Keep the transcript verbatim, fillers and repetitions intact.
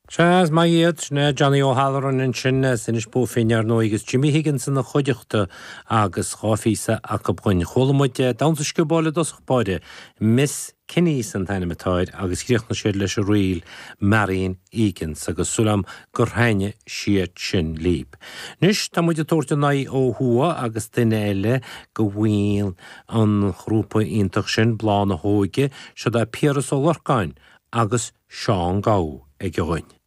Sea, is maith iad, sin é Johnny O'Halloran ansin as Inis Bó Finne ar ndóigh agus Jimmy Higgins ina chuideachta agus dhá phíosa acu dhúinn. Chuala muid damhsa sciobóil i dtosach báire, Miss Kinney's an t-ainm atá air agus chríochnaigh siad leis an ríl Marion Egan's agus súil agam gur thaitnigh siad sin libh. Anois tá muid ag tabhairt an aghaidh ó thuaidh agus duine eile de bhaill an ghrúpa iontach sin, Bláth na hÓige, siod é Piaras Ó Lorcáin agus Seán Gabha aige dhúinn.